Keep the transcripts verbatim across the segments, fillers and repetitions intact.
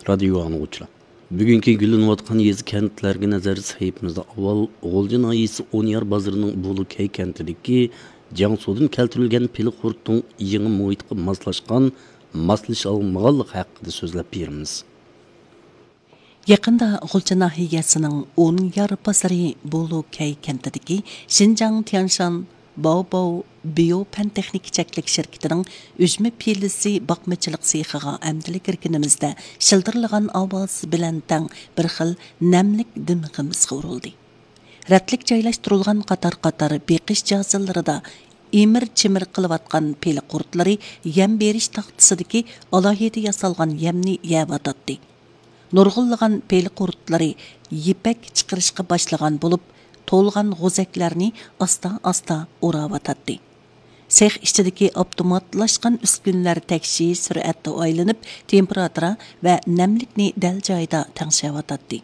رادىيو ئاڭلىغۇچىلار، بۈگۈنكى گۈللىنىۋاتقان يېزا، كەنتلەرگە نەزەر سەھىپىمىزدە ئاۋۋال غۇلجا ناھىيەسى ئونيار بازىرىنىڭ بولۇ كەي كەنتىدىكى جياڭسۇدىن كەلتۈرۈلگەن پىلە قۇرتىنىڭ يېڭى مۇھىتقا ماسلاشقان، ماسلىشالمىغانلىقى ھەققىدە سۆزلەپ بېرىمىز. يېقىندا غۇلجا ناھىيەسىنىڭ ئونيار بازىرى بولۇ كەي كەنتىدىكى شىنجاڭ تيەنشان باۋباۋ بىيو پەن تېخنىكا چەكلىك شىركىتىنىڭ ئۈجمە پىلىسى باقمىچىلىق سېخىغا ئەمدىلا كىرگىنىمىزدە، شىلدىرلىغان ئاۋاز بىلەن تەڭ بىر خىل نەملىك دىمىقىمىزغا ئۇرۇلدى. رەتلىك جايلاشتۇرۇلغان قاتار-قاتار بېقىش جازىلىرىدا ئىمىر-چىمىر قىلىۋاتقان پىلە قۇرتلىرى يەم بېرىش تاختىسىدىكى ئالاھىدە ياسالغان يەمنى يەۋاتاتتى. نۇرغۇنلىغان پىلە قۇرتلىرى يىپەك چىقىرىشقا باشلىغان بولۇپ، تولغان غوزەكلەرنى ئاستا-ئاستا ئوراۋاتاتتى. سېخ ئىچىدىكى ئاپتوماتلاشقان ئۈسكۈنىلەر تەكشى سۈرئەتتە ئايلىنىپ، تېمپېراتۇرا ۋە نەملىكنى دەل جايىدا تەڭشەۋاتاتتى.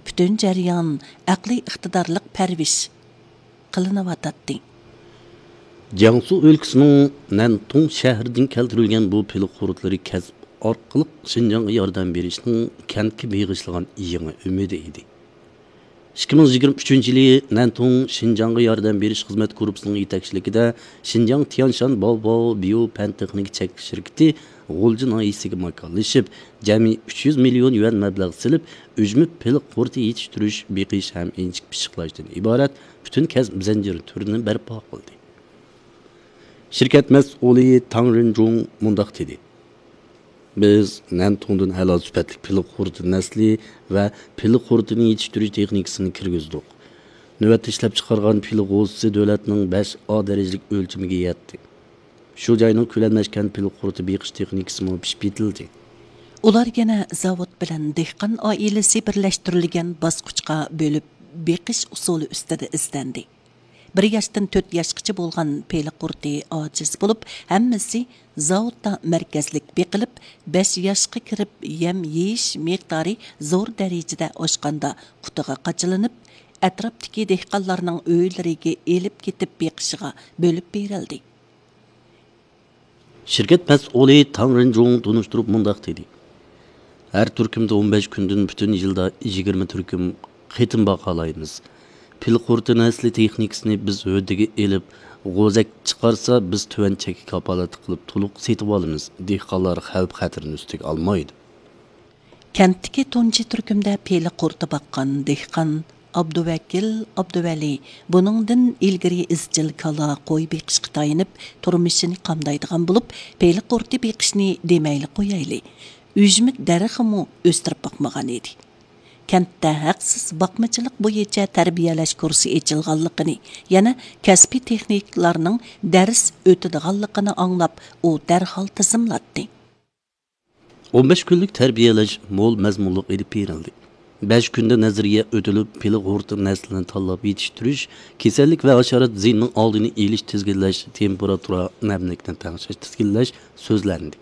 پۈتۈن جەريان ئەقلىي ئىقتىدارلىق پەرۋىش قىلىنىۋاتاتتى. جياڭسۇ ئۆلكىسىنىڭ نەنتۇڭ شەھىرىدىن كەلتۈرۈلگەن بۇ پىلە قۇرتلىرى كەسىپ ئارقىلىق شىنجاڭغا ياردەم بېرىشنىڭ كەنتكە بېغىشلىغان يېڭى ئۈمىدى ئىدى. ئىككى مىڭ يىگىرمە ئۈچىنچى يىلى نەنتۇڭ شىنجاڭغا ياردەم بېرىش خىزمەت گۇرۇپپىسىنىڭ يېتەكچىلىكىدە شىنجاڭ تيەنشان باۋباۋ بىيو پەن تېخنىكا چەكلىك شىركىتى غۇلجا ناھىيەسىگە ماكانلىشىپ، جەمئىي ئۈچ يۈز مىليون يۈەن مەبلەغ سېلىپ، ئۈجمە پىلە قۇرتى يېتىشتۈرۈش، بېقىش ھەم ئىنچىكە پىششىقلاشتىن ئىبارەت پۈتۈن كەسىپ زەنجىرى تۈرىنى بەرپا قىلدى. شىركەت مەسئۇلى تاڭ رېنجۇڭ مۇنداق دېدى: بىز نەنتۇڭدىن ئەلا سۈپەتلىك پىلە قۇرتى نەسلى ۋە پىلە قۇرتىنى يېتىشتۈرۈش تېخنىكىسىنى كىرگۈزدۇق. نۆۋەتتە ئىشلەپچىقارغان پىلە غوزىسى دۆلەتنىڭ بەش ئا دەرىجىلىك ئۆلچىمىگە يەتتى. شۇ جاينىڭ كۆلەملەشكەن پىلە قۇرتى بېقىش تېخنىكىسىمۇ پىشىپ يېتىلدى. ئۇلار يەنە زاۋۇت بىلەن دېھقان ئائىلىسى بىرلەشتۈرۈلگەن باسقۇچقا بۆلۈپ بېقىش ئۇسۇلى ئۈستىدە ئىزدەندى. بىر ياشتىن تۆت ياشقىچە بولغان پىلە قۇرتى ئاجىز بولۇپ، ھەممىسى زاۋۇتتا مەركەزلىك بېقىلىپ، بەش ياشقا كىرىپ يەم يېيىش مىقدارى زور دەرىجىدە ئاشقاندا قۇتىغا قاچىلىنىپ، ئەتراپتىكى دېھقانلارنىڭ ئۆيلىرىگە ئېلىپ كېتىپ بېقىشىغا بۆلۈپ بېرىلدى. شىركەت مەسئۇلى تاڭ رېنجۇڭ تونۇشتۇرۇپ مۇنداق دېدى: ھەر تۈركۈمدە ئون بەش كۈندىن پۈتۈن يىلدا يىگىرمە تۈركۈم قېتىم باقالايمىز. پىلە قۇرتى نەسلى تېخنىكىسىنى بىز ھۆددىگە ئېلىپ، غوزەك چىقارسا، بىز تۆۋەن چەككە كاپالەتلىك قىلىپ تولۇق سېتىۋالىمىز. دېھقانلار خەۋپ-خەتىرىنى ئۈستىگە ئالمايدۇ. كەنتتىكى تۇنجى تۈركۈمدە پىلە قۇرتى باققان دېھقان ئابدۇۋەكىل ئابدۇۋەلى بۇنىڭدىن ئىلگىرى ئىزچىل كالا، قوي بېقىشقا تايىنىپ، تۇرمۇشىنى قامدايدىغان بولۇپ، پىلە قۇرتى بېقىشنى دېمەيلى قويايلى، ئۈجمە دەرىخىمۇ ئۆستۈرۈپ باقمىغان ئىدى. كەنتتە ھەقسىز باقمىچىلىق بويىچە تەربىيەلەش كۇرسى ئېچىلغانلىقىنى، يەنە كەسپىي تېخنىكلارنىڭ دەرس ئۆتىدىغانلىقىنى ئاڭلاپ، ئۇ دەرھال تىزىملاتتى. ئون بەش كۈنلۈك تەربىيەلەش مول مەزمۇنلۇق ئېلىپ بېرىلدى. بەش كۈندە نەزەرىيە ئۆتۈلۈپ، پىلە قۇرتى نەسلىنى تاللاپ يېتىشتۈرۈش، كېسەللىك ۋە ھاشارات زىيىنىنىڭ ئالدىنى ئېلىش، تىزگىنلەش، تېمپېراتۇرا، نەملىكنى تەڭشەش، تىزگىنلەش سۆزلەندى.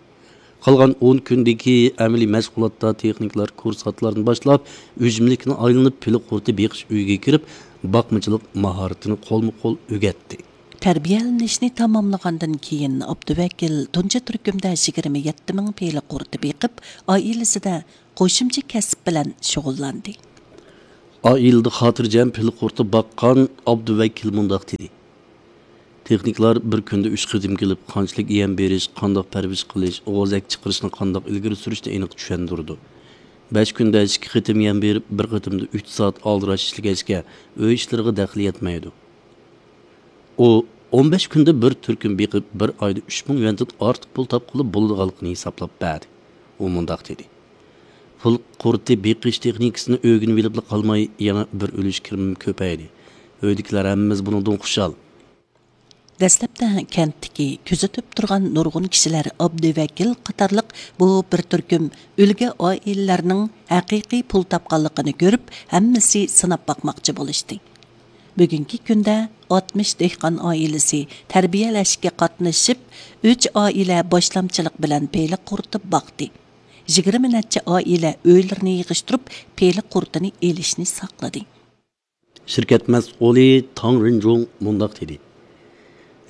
قالغان ئون كۈندىكى ئەمەلىي مەشغۇلاتتا تېخنىكلار كۇرسانتلاردىن باشلاپ، ئۈجمىلىكنى ئايلىنىپ، پىلە قۇرتى بېقىش ئۆيىگە كىرىپ، باقمىچىلىق ماھارىتىنى قولمۇ قول ئۆگەتتى. تەربىيەلىنىشنى تاماملىغاندىن كېيىن، ئابدۇۋەكىل تۇنجى تۈركۈمدە يىگىرمە يەتتە مىڭ پىلە قۇرتى بېقىپ، ئائىلىسىدە قوشۇمچە كەسىپ بىلەن شۇغۇللاندى. ئائىلىدە خاتىرجەم پىلە قۇرتى باققان ئابدۇۋەكىل مۇنداق دېدى: تېخنىكلار بىر كۈندە ئۈچ قېتىم كېلىپ، قانچىلىك يەم بېرىش، قانداق پەرۋىش قىلىش، غوزەك چىقىرىشنى قانداق ئىلگىرى سۈرۈشنى ئېنىق چۈشەندۈرىدۇ. بەش كۈندە ئىككى قېتىم يەم بېرىپ، بىر قېتىمدا ئۈچ سائەت ئالدىراش ئىشلىگەچكە، ئۆي ئىشلىرىغا دەخلى يەتمەيدۇ. ئۇ ئون بەش كۈندە بىر تۈركۈم بېقىپ، بىر ئايدا ئۈچ مىڭ يۈەندىن ئارتۇق پۇل تاپقىلى بولىدىغانلىقىنى ھېسابلاپ بەردى. ئۇ مۇنداق دېدى: پىلە قۇرتى بېقىش تېخنىكىسىنى ئۆگىنىۋېلىپلا قالماي، يەنە بىر ئۈلۈش كىرىمىم كۆپەيدى. ئۆيدىكىلەر ھەممىمىز بۇنىڭدىن خۇشال. دەسلەپتە كەنتتىكى كۆزىتىپ تۇرغان نۇرغۇن كىشىلەر ئابدۇۋەكىل قاتارلىق بۇ بىر تۈركۈم ئۈلگە ئائىلىلەرنىڭ ھەقىقىي پۇل تاپقانلىقىنى كۆرۈپ، ھەممىسى سىناپ باقماقچى بولۇشتى. بۈگۈنكى كۈندە ئاتمىش دېھقان ئائىلىسى تەربىيەلەشكە قاتنىشىپ، ئۈچ ئائىلە باشلامچىلىق بىلەن پىلە قۇرتى باقتى. يىگىرمە نەچچە ئائىلە ئۆيلىرىنى يىغىشتۇرۇپ، پىلە قۇرتىنى ئېلىشنى ساقلىدى. شىركەت مەسئۇلى تاڭ رېنجۇڭ مۇنداق دېدى: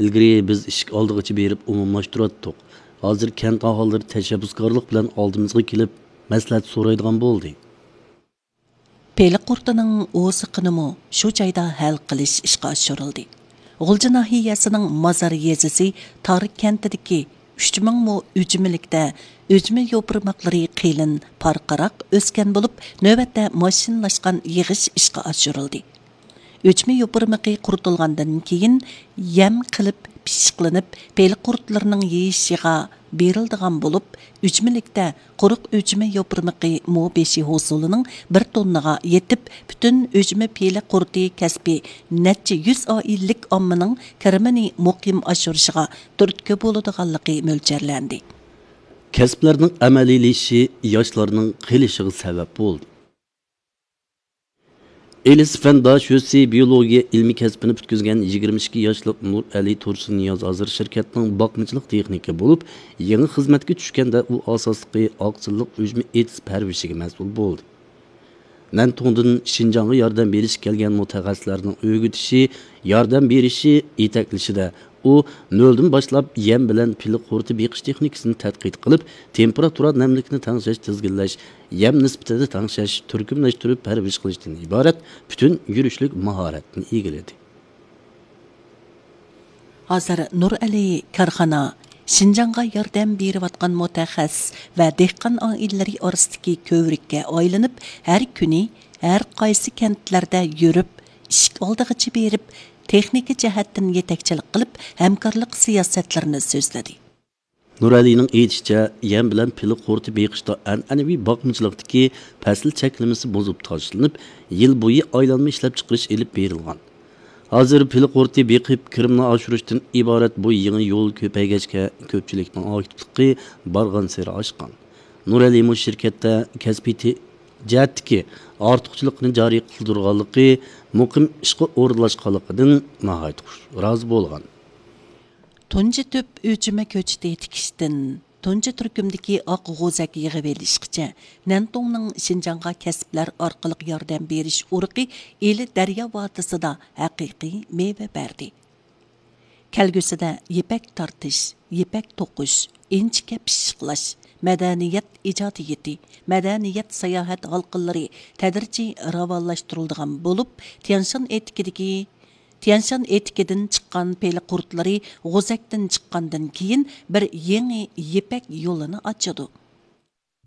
ئىلگىرى بىز ئىشىك ئالدىغىچە بېرىپ ئومۇملاشتۇراتتۇق. ھازىر كەنت ئاھالىلىرى تەشەببۇسكارلىق بىلەن ئالدىمىزغا كېلىپ، مەسلىھەت سورايدىغان بولدى. پېلىق قۇرتىنىڭ ئوزۇقىنىمۇ شۇ جايدا ھەل قىلىش ئىشقا ئاشۇرۇلدى. غۇلجا ناھىيەسىنىڭ مازار يېزىسى تار كەنتىدىكى ئۈچ مىڭ مو ئۈجمىلىكتە ئۈجمە يوپۇرماقلىرى قېلىن پارقىراق ئۆسكەن بولۇپ، نۆۋەتتە ماشىنىلاشقان يىغىش ئىشقا ئاشۇرۇلدى. ئۈجمە يوپۇرمىقى قۇرۇتۇلغاندىن كېيىن يەم قىلىپ پىششىقلىنىپ، پېلىق قۇرتلىرىنىڭ يېيىشىغا بېرىلىدىغان بولۇپ، ئۈجمىلىكتە قۇرۇق ئۈجمە يوپۇرمىقى مو بېشى ھوسۇلىنىڭ بىر توننىغا يېتىپ، پۈتۈن ئۈجمە پېلىق قۇرتى كەسپى نەچچە يۈز ئائىلىلىك ئاممىنىڭ كىرىمىنى مۇقىم ئاشۇرۇشىغا تۈرتكە بولىدىغانلىقى مۆلچەرلەندى. كەسىپلەرنىڭ ئەمەلىيلىشىشى ياشلارنىڭ قېلىشىغا سەۋەب بولدى. ئېلىس فەن داشۆسى بىيولوگىيە ئىلمىي كەسپىنى پۈتكۈزگەن يىگىرمە ئىككى ياشلىق نۇرئەلى تۇرسۇننىياز ھازىر شىركەتنىڭ باقمىچىلىق تېخنىكى بولۇپ، يېڭى خىزمەتكە چۈشكەندە ئۇ ئاساسلىقى ئاقسىللىق ئۈجمە ئېتىز پەرۋىشىگە مەسئۇل بولدى. نەنتۇڭدىن شىنجاڭغا ياردەم بېرىشكە كەلگەن مۇتەخەسسىسلەرنىڭ ئۆگىتىشى، ياردەم بېرىشى، يېتەكلىشىدە ئۇ نۆلدىن باشلاپ يەم بىلەن پىلە قۇرتى بېقىش تېخنىكىسىنى تەتقىق قىلىپ، تېمپېراتۇرا، نەملىكنى تەڭشەش، تىزگىنلەش، يەم نىسبىتىنى تەڭشەش، تۈركۈملەشتۈرۈپ پەرۋىش قىلىشتىن ئىبارەت پۈتۈن يۈرۈشلۈك ماھارەتنى ئىگىلىدى. ھازىر نۇرئەلى كارخانا شىنجاڭغا ياردەم بېرىۋاتقان مۇتەخەسسىس ۋە دېھقان ئائىلىلىرى ئارىسىدىكى كۆۋرۈككە ئايلىنىپ، ھەر كۈنى ھەر قايسى كەنتلەردە يۈرۈپ، ئىشىك ئالدىغىچە بېرىپ، تېخنىكا جەھەتتىن يېتەكچىلىك قىلىپ، ھەمكارلىق سىياسەتلىرىنى سۆزلىدى. نۇرئەلىنىڭ ئېيتىشىچە، يەم بىلەن پىلە قۇرتى بېقىشتا ئەنئەنىۋى باقمىچىلىقتىكى پەسىل چەكلىمىسى بۇزۇپ تاشلىنىپ، يىل بويى ئايلانما ئىشلەپچىقىرىش ئېلىپ بېرىلغان. ھازىر پىلە قۇرتى بېقىپ، كىرىمنى ئاشۇرۇشتىن ئىبارەت بۇ يېڭى يول كۆپەيگەچكە، كۆپچىلىكنىڭ ئاكتىپلىقى بارغانسېرى ئاشقان. نۇرئەلىمۇ شىركەتتە كەسپىي تې-، جەھەتتىكى ئارتۇقچىلىقنى جارى قىلدۇرغانلىقى، مۇقىم ئىشقا ئورۇنلاشقانلىقىدىن ناھايىتى خۇش، رازى بولغان. تۇنجى تۈپ ئۈجمە كۆچىتى تىكىشتىن تۇنجى تۈركۈمدىكى ئاق غوزەك يىغىۋېلىشقىچە، نەنتۇڭنىڭ شىنجاڭغا كەسىپلەر ئارقىلىق ياردەم بېرىش ئۇرۇقى ئىلى دەريا ۋادىسىدا ھەقىقىي مېۋە بەردى. كەلگۈسىدە يىپەك تارتىش، يىپەك توقۇش، ئىنچىكە پىششىقلاش، مەدەنىيەت ئىجادىيىتى، مەدەنىيەت ساياھەت ھالقىلىرى تەدرىجىي راۋانلاشتۇرۇلىدىغان بولۇپ، تيەنشان ئېتىكىدىكى، تيەنشان ئېتىكىدىن چىققان پېلە قۇرتلىرى غوزەكتىن چىققاندىن كېيىن بىر يېڭى يىپەك يولىنى ئاچىدۇ.